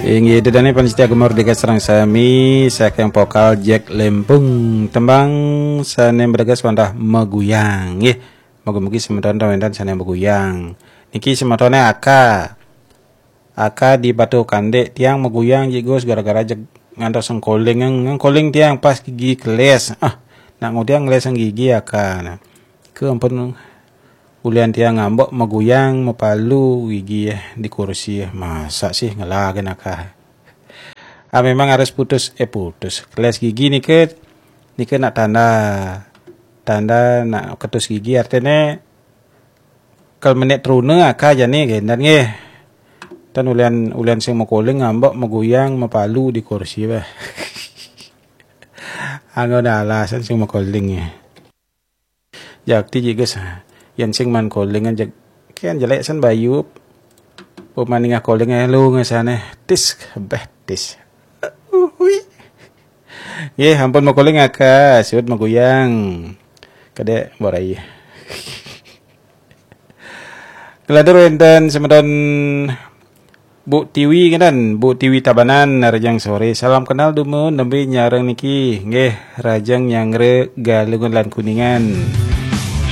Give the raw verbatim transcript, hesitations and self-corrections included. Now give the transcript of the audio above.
Inggih, ida dané pamiarsa Gema Merdeka sareng sami, saking vokal Jack Lempung. Tembang sané mregas wantah Maguyang. Nggih, mugi-mugi semeton wénten sané maguyang. Niki semetoné Aka. Aka di Batu Kandé, tiang maguyang jik Gus gara-gara jeg ngantos ngkoling, ngkoling tiang pas gigi kelés. Ah, nak ngudiang ngelésang gigi Aka. Nah. Ke ampun ulian tiang ngambek maguyang mapalu gigi di kursi. Masa sih ngelagen Aka. Ah, memang harus putus, eh putus. Kelés gigi nike, nike nak tanda, tanda nak ketus gigi artiné kal menék truna Aka jani kénten nggih. Tan ulian, ulian sing makoling ngambek maguyang mapalu di kursi bah. Anggo ada alasan sing makoling ya. Jakti jik Gus, yén sing maan koling jeg kén jelék san bayu. Pemaning koling lu ngesané tis, béh tis. Uhui. Nggih, ampun makoling Aka, siut maguyang. Kedék borai. Kelantur wénten semeton Bu Tiwi ngénten, Bu Tiwi Tabanan, rahajeng soré. Salam kenal dumun, nembé nyareng niki. Nggih, rahajeng nyanggra Galungan lan Kuningan.